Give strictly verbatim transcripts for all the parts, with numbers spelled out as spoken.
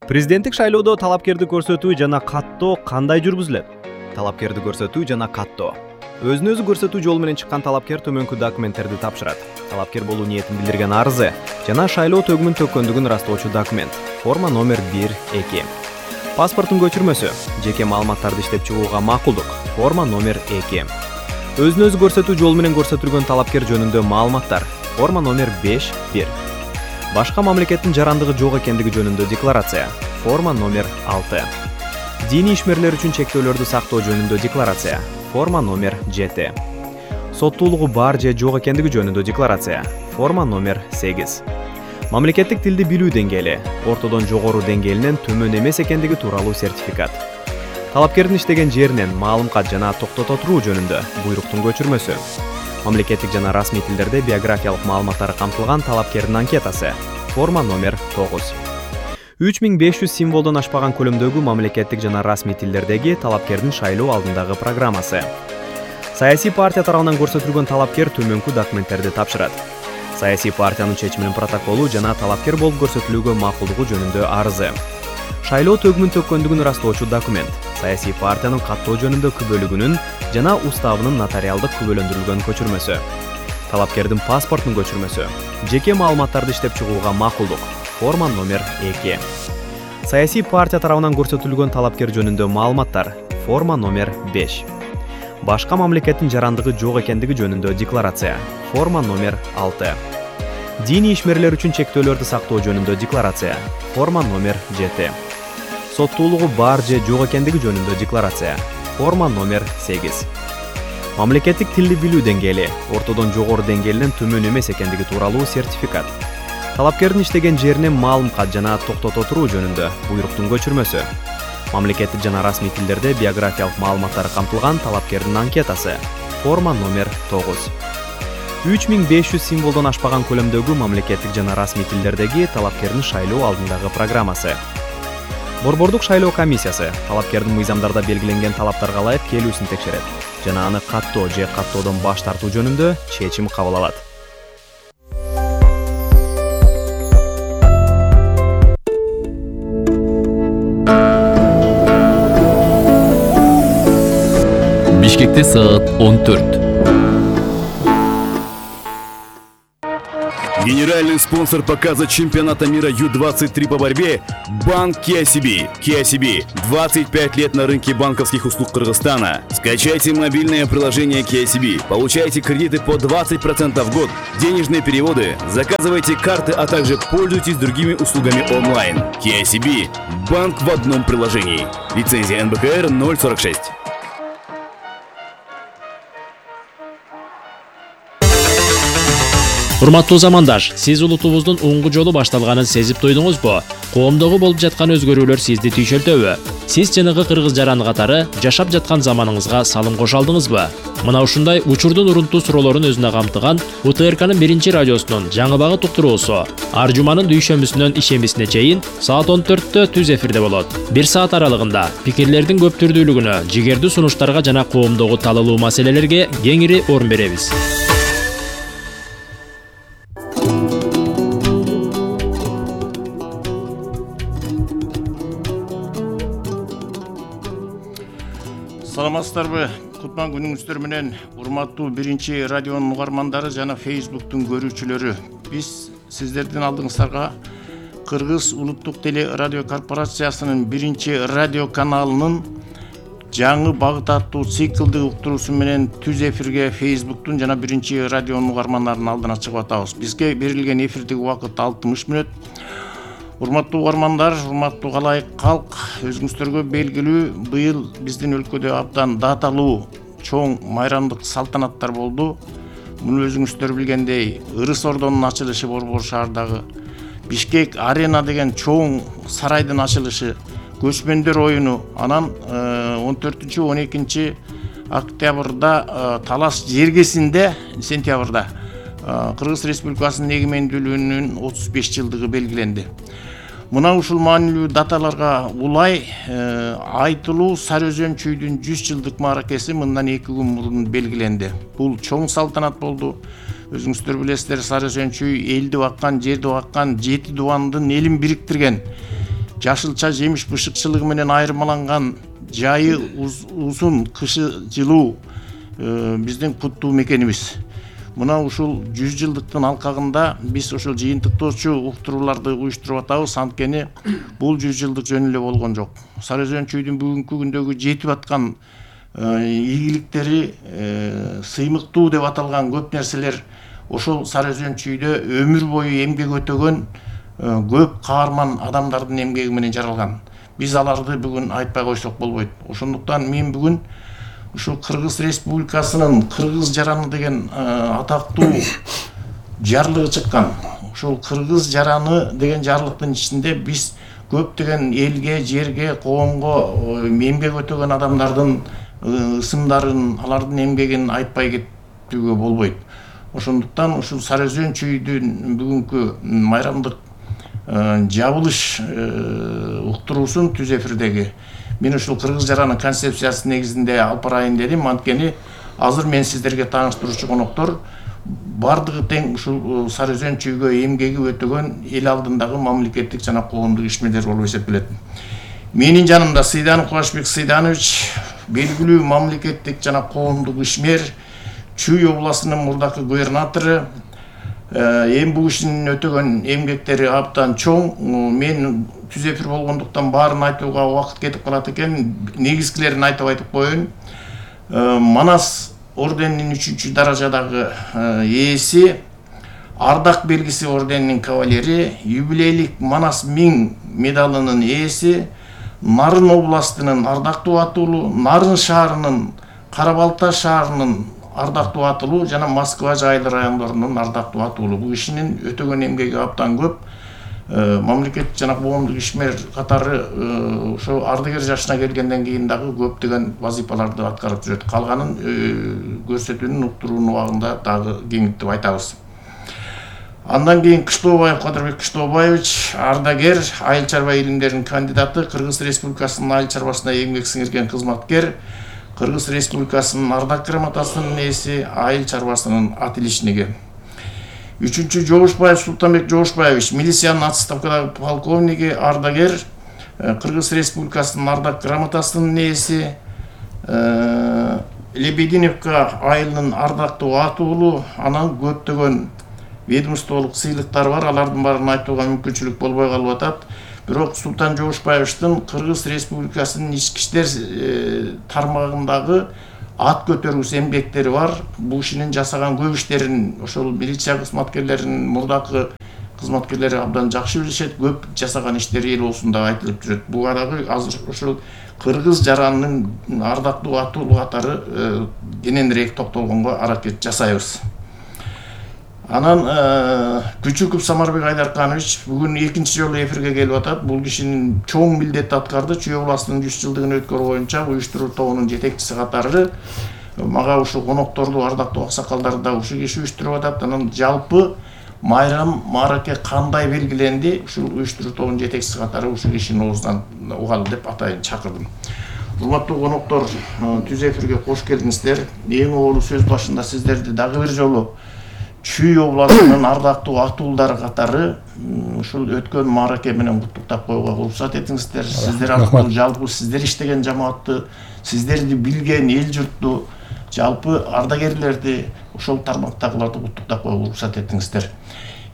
Президенттик шайлоодо талапкерди көрсөтүү жана каттоо кандай жүргүзүлөт? Талапкерди көрсөтүү жана каттоо. Өзүн өзү көрсөтүү жолу менен чыккан талапкер төмөнкү документтерди тапшырат. Талапкер болуу ниетин билдирген арызы жана шайлоо төгүмүн төккөндүгүн ырастоочу документ. Форма номер бир эки. Паспорттун көчүрмөсү, жеке маалыматтарды иштеп чыгууга макулдук. Форма номер эки. Өзүн өзү көрсөтүү жолу менен көрсөтүлгөн талапкер жөнүндө маалыматтар. Форма номер беш бир. Башка мамлекеттин жарандыгы жок экендиги жөнүндө декларация. Форма номер алты. Диний ишмерлер үчүн чектөөлөрдү сактоо жөнүндө декларация. Форма номер жети. Соттуулугу бар же жок экендиги жөнүндө декларация. Форма номер сегиз. Мамлекеттик тилди билүү деңгээли, ортодон жогору деңгээлинен төмөн эмес экендиги тууралуу сертификат. Талапкердин иштеген жеринен маалым кат жана токтото туруу жөнүндө буйруктун көчүрмөсү. Мамлекеттик жана расмий тилдерде биографиялык маалыматтары камтылган талапкердин анкетасы. Форма номер тогуз. үч миң беш жүз символдон ашпаган көлөмдөгү мамлекеттик жана расмий тилдердеги талапкердин шайлоо алдындагы программасы. Саясий партия тарабынан көрсөтүлгөн талапкер төмөнкү документтерди тапшырат. Саясий партиянын чечиминин протоколу жана талапкер болуп көрсөтүлүүгө макулдугу жөнүндө арызы. Шайлоо төгүмүн төккөндүгүн ырастоочу документ. Саясий партиянын каттоо жөнүндө күбөлүгүнүн жана уставынын нотариалдык күбөлөндүрүлгөн көчүрмөсү. Талапкердин паспортунун көчүрмөсү. Жеке маалыматтарды иштеп чыгууга макулдук. Форма номер эки. Саясий партия тарабынан көрсөтүлгөн талапкер жөнүндө маалыматтар. Форма номер беш. Башка мамлекеттин жарандыгы жок экендиги жөнүндө декларация. Форма номер алты. Диний ишмерлер үчүн чектөөлөрдү сактоо жөнүндө декларация. Форма номер жети. Соттуулугу бар же жок экендиги жөнүндө декларация. Форма номер сегиз. Мамлекеттик тилди билүү деңгээли, ортодон жогору деңгээлинен төмөн эмес экендиги тууралуу сертификат. Талапкердин иштеген жеринен маалым кат жана токтото туруу жөнүндө буйруктун көчүрмөсү. Мамлекеттик жана расмий тилдерде биографиялык маалыматтары камтылган талапкердин анкетасы. Форма номер тогуз. үч миң беш жүз символдон ашпаган көлөмдөгү мамлекеттик жана расмий тилдердеги талапкердин шайлоо алдындагы программасы. Борбордук шайлоо комиссиясы талапкердин мыйзамдарда белгиленген талаптарга ылайык келүүсүн текшерет жана аны каттоо же каттоодон баш тартуу жөнүндө чечим кабыл алат. Бишкекте саат он төрт. Генеральный спонсор показа чемпионата мира ю двадцать три по борьбе – банк кей ай си би. кей ай си би – двадцать пять лет на рынке банковских услуг Кыргызстана. Скачайте мобильное приложение кей ай си би, получайте кредиты по двадцать процентов в год, денежные переводы, заказывайте карты, а также пользуйтесь другими услугами онлайн. кей ай си би – банк в одном приложении. Лицензия эн бэ ка эр ноль сорок шесть. Урматтуу замандаш, сиз улутубуздун оңгу жолу башталганын сезип туйдуңузбу? Коомдогу болуп жаткан өзгөрүүлөр сизди түйшөлтөбү? Сиз жанагы кыргыз жараны катары жашап жаткан заманыңызга салым кошо алдыңызбы? Мына ушундай учурдун урунтуу суроолорун өзүнө камтыган у тэ эр канын биринчи радиосунун жаңы багыт уктуруусу ар жуманын дүйшөмбүсүнөн ишембисине чейин саат он төрттө түз эфирде болот. Бир саат аралыгында пикирлердин көп түрдүүлүгүнө, жигердүү сунуштарга жана коомдогу талалуу маселелерге кеңири орун беребиз. Саламатсыздарбы? Кутман күнүңүздөр менен урматтуу биринчи радионун угармандары жана Фейсбуктун көрүүчүлөрү. Биз сиздердин алдыңыздарга Кыргыз улуттук теле радио корпорациясынын биринчи радио каналынын жаңы багыт аттуу циклдык уктуруусу менен түз эфирге Фейсбуктун жана биринчи радионун угармандарынын алдына чыгып атабыз. Бизге берилген эфирдик убакыт алтымыш мүнөт. Урматтуу угармандар, урматтуу калайык калк, өзүңүздөргө белгилүү, быйыл биздин өлкөдө абдан даталуу чоң майрамдык салтанаттар болду. Муну өзүңүздөр билгендей, Ырыс Ордонун ачылышы Борбор шаардагы, Бишкек арена деген чоң сарайдын ачылышы, көчмөндөр оюну, анан он төртүнчү он экинчи октябрда Талас жергесинде сентябрда Кыргыз Республикасынын эгемендүүлүгүнүн отуз беш жылдыгы белгиленди. Мына ушул маанилүү даталарга улай айтылуу Сары Өзөн чүйдүн жүз жылдык мааракеси мындан эки күн мурун белгиленди. Бул чоң салтанат болду. Өзүңүздөр билесиздер, Сары Өзөн чүй элди баккан, жерди баккан, жети дубандын элин бириктирген жашылча жемиш бышыкчылыгы менен айырмаланган жайы узун, кышы жылуу биздин куттуу мекенибиз. Мына ушул жүз жылдыктын алкагында биз ушул жыйынтыктоочу уктурууларды уюштуруп атабыз. Анткени бул жүз жылдык жөн эле болгон жок. Сары Өзөн чүйдүн бүгүнкү күндөгү жетип аткан ийгиликтери, сыймыктуу деп аталган көп нерселер ошол Сары Өзөн чүйдө өмүр бою эмгек өтөгөн көп каарман адамдардын эмгеги менен жаралган. Биз аларды бүгүн айтпай койсок болбойт. Ошондуктан мен бүгүн ушул Кыргыз Республикасынын Кыргыз жараны деген атактуу жарлыгы чыккан. Ушул Кыргыз жараны деген жарлыктын ичинде биз көптөгөн элге, жерге, коомго эмгек өтөгөн адамдардын ысымдарын, алардын эмгегин айтпай кетүүгө болбойт. Ошондуктан ушул Сары Өзөн чүйдүн бүгүнкү майрамдык жабылыш уктуруусун түз эфирдеги мен ушул Кыргыз жараны концепциясы негизинде алып барайын дедим. Анткени азыр мен сиздерге тааныштыруучу коноктор бардыгы тең ушул Сары Өзөн чүйгө эмгеги өтөгөн эл алдындагы мамлекеттик жана коомдук ишмерлер болуп эсептелет. Менин жанымда Сыйданов Кубашбек Сыйданович, белгилүү мамлекеттик жана коомдук ишмер, Чүй областынын мурдакы губернатору. Эми бул кишинин өтөгөн эмгектери абдан чоң. Мен түз эфир болгондуктан баарын айтууга убакыт кетип калат экен. Негизгилерин айтып айтып коеюн. Манас орденинин үчүнчү даражадагы ээси, Ардак белгиси орденинин кавалери, юбилейлик Манас миң медалынын ээси, Нарын областынын ардактуу атуулу, Нарын шаарынын, Кара-Балта шаарынын ардактуу атуулу жана Москва жайлы райондорунун ардактуу атуулу. Бул кишинин өтөгөн эмгеги абдан көп. Мамлекеттик жана коомдук ишмер катары ошо ардыгер жашына келгенден кийин дагы көптөгөн вазифаларды аткарып жүрөт. Калганын көрсөтүүнүн уктуруунун убагында дагы кеңиттеп айтабыз. Андан кийин Кыштообаев Кадырбек Кыштообаевич, ардагер, айыл чарба илимдеринин кандидаты, Кыргыз Республикасынын айыл чарбасына эмгек сиңирген кызматкер, Кыргыз Республикасынын ардак грамотасынын ээси, айыл чарбасынын ат иличниги. Үчүнчү Жогушбаев Султанбек Жогушбаевич, милициянын отставкадагы полковниги, ардагер, Кыргыз Республикасынын ардак грамотасынын ээси, Лебединовка айылынын ардактуу атуулу, анан көптөгөн ведомстволук сыйлыктар бар. Алардын баарын айтууга мүмкүнчүлүк болбой калып атат. Бирок Султан Жогушбаевичтин Кыргыз Республикасынын ички иштер тармагындагы ат көтөрүүс эмгектери бар. Бул кишинин жасаган көп иштерин ошол милиция кызматкерлеринин, мурдакы кызматкерлери абдан жакшы билишет. Көп жасаган иштери эл оозунда айтылып жүрөт. Буга дагы азыр ошол Кыргыз жаранынын ардактуу атуулу катары кененирээк токтолгонго аракет жасайбыз. Анан Күчүков Самарбек Айдарканович бүгүн экинчи жолу эфирге келип атат. Бул кишинин чоң милдет аткарды. Чүй областынын жүз жылдыгын өткөрүү боюнча уюштуруу тобунун жетекчиси катары мага ушул конокторду, ардактуу аксакалдарды да ушул киши уюштуруп атат. Анан жалпы майрам маараке кандай белгиленди, ушул уюштуруу тобунун жетекчиси катары ушул кишинин оозунан угалы деп атайын чакырдым. Урматтуу коноктор, түз эфирге кош келдиңиздер. Эң оолу сөз башында сиздерди дагы бир жолу Чүй областынын ардактуу атуулдары катары ушул өткөн маараке менен куттуктап коюуга уруксат этиңиздер. Сиздер аркылуу жалпы сиздер иштеген жамаатты, сиздерди билген эл журтту, жалпы ардагерлерди, ошол тармактагыларды куттуктап коюуга уруксат этиңиздер.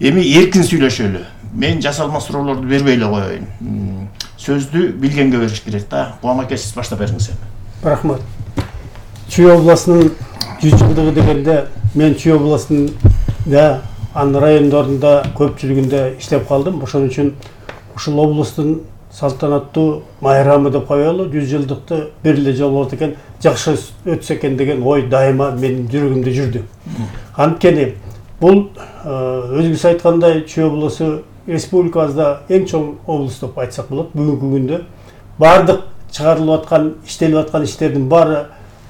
Эми эркин сүйлөшөлү. Мен жасалма суроолорду бербей эле коеюн. Сөздү билгенге бериш керек да. Кубан аке, сиз баштап бериңиз. Рахмат. Чүй областынын жүз жылдыгы дегенде мен Чүй областынын да анын райондорунда көпчүлүгүндө иштеп калдым. Ошон үчүн ушул облустун салтанаттуу майрамы деп коелу, жүз жылдыкты бир эле жолу болот экен, жакшы өтсө экен деген ой дайыма менин жүрөгүмдө жүрдү. Анткени бул өзүңүз айткандай Чүй облусу республикабызда эң чоң облус деп айтсак болот. Бүгүнкү күндө бардык чыгарылып аткан, иштелип аткан иштердин баары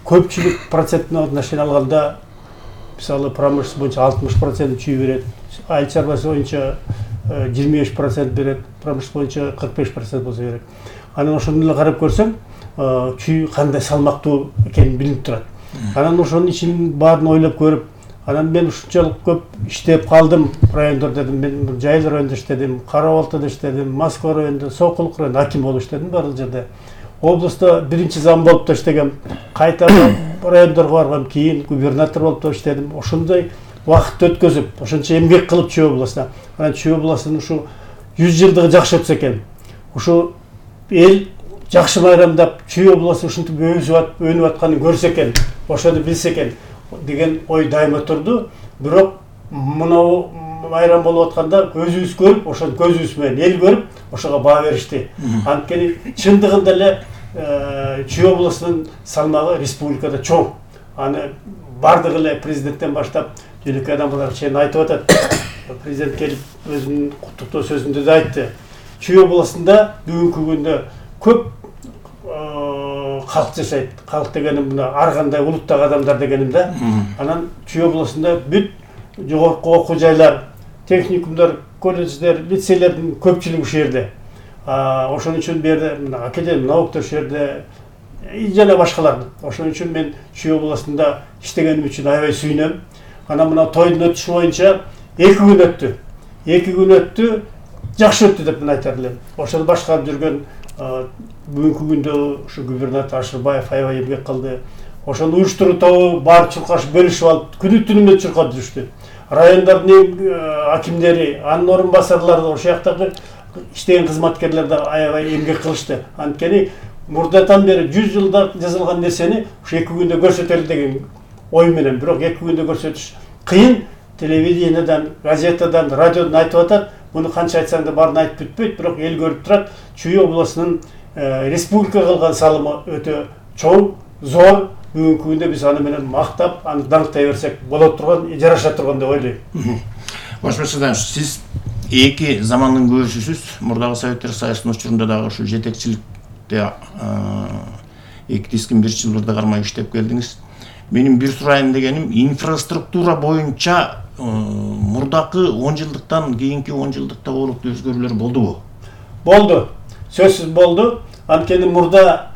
көпчүлүк процентине отношение алганда, мисалы промышленность боюнча алтымыш процент Чүй берет, айыл чарбасы боюнча жыйырма беш процент берет, промышленность боюнча кырк беш процент болсо керек. Анан ошондо эле карап көрсөм, Чүй кандай салмактуу экени билинип турат. Анан ошонун ичинин баарын ойлоп көрүп, Анан мен ушунчалык көп иштеп калдым райондордо дедим. Мен Жайыл районунда иштедим, Кара Балтада иштедим, Москва районунда, Сокулук районунда аким болуп иштедим баардык жерде. Облустта биринчи зам болуп да иштегем. Кайта райондорго баргам, кийин губернатор болуп да иштедим. Ошондой убакытты өткөзүп, ошончо эмгек кылып Чүй областына. Анан Чүй областынын ушу жүз жылдыгы жакшы өтсө экен. Ушу эл жакшы майрамдап, Чүй областы ушинтип өнүп атканын көрсө экен, ошону билсе экен деген ой дайыма турду. Бирок мынау майрам болуп атканда көзүбүз көрүп, ошону көзүбүз менен эл көрүп, ошого баа беришти. Анткени чындыгында эле Чүй областынын салмагы республикада чоң. Аны бардыгы эле президенттен баштап жөнөкөй адамдар чейин айтып атат. Президент келип өзүнүн куттуктоо сөзүндө да айтты. Чүй областында бүгүнкү күндө көп калк жашайт. Калк дегеним мына ар кандай улуттагы адамдар дегеним да. Анан Чүй областында бүт жогорку окуу жайлар, техникумдар, колледждер, лицейлердин көпчүлүгү ушул жерде. Ошон үчүн берде мына академия науктар ушул жерде жана башкалар. Ошон үчүн мен Чүй областында иштегеним үчүн аябай сүйүнөм. Анан мына тойдун өтүшү боюнча эки күн өттү. эки күн өттү, жакшы өттү деп мен айтар элем. Ошону башкарып жүргөн бүгүнкү күндө ушу губернатор Ашырбаев аябай эмгек кылды. Ошону уюштуруу тобу барып чуркашып бөлүшүп алып, күнү түнү менен чуркап жүрүштү. Райондордун акимдери, анын орун басарлары, ошол жактагы иштеген кызматкерлер да аябай эмгек кылышты. Анткени мурдатан бери жүз жылда жазылган нерсени ушу эки күндө көрсөтөлү деген ой менен, бирок эки күндө көрсөтүш кыйын. Телевидениедан, газетадан, радиодон айтып атат. Муну канча айтсаң да баарын айтып бүтпөйт, бирок эл көрүп турат. Чүй областынын республикага кылган салымы өтө чоң, зор. Бүгүнкү күндө биз аны менен мактап, аны даңктай берсек боло турган, жараша турган деп ойлойм. Башкачадан сиз эки замандын көбүшүсүз. Мурдагы Советтер Союзунун учурунда дагы ушу жетекчиликте эки дискин биринчи жылдарда кармай иштеп келдиңиз. Менин бир сурайын дегеним, инфраструктура боюнча мурдакы он жылдыктан кийинки он жылдыкта олуктуу өзгөрүүлөр болдубу? Болду. Сөзсүз болду. Анткени мурда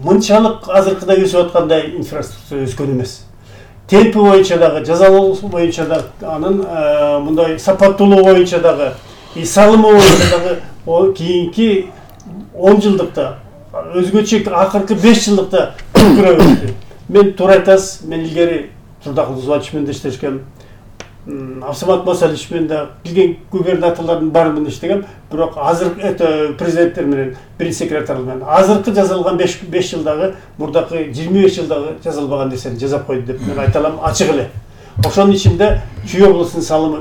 мынчалык азыркыдай өсүп аткандай инфраструктура өскөн эмес. Темпи боюнча дагы, жазалоо боюнча дагы, анын мындай сапаттуулугу боюнча дагы, и салымы боюнча дагы кийинки он жылдыкта, өзгөчө акыркы беш жылдыкта көрүп өттү. Мен туура айтасыз, мен илгери Турдакул Званич менен да иштешкем. Абсамат Масалич менен да билген губернаторлордун баары менен иштегем, бирок азыркы президенттер менен, биринчи секретарлар менен азыркы жазылган беш жылдагы, мурдакы жыйырма беш жылдагы жазылбаган нерсени жасап койду деп мен айта алам ачык эле. Ошонун ичинде Чүй областынын салымы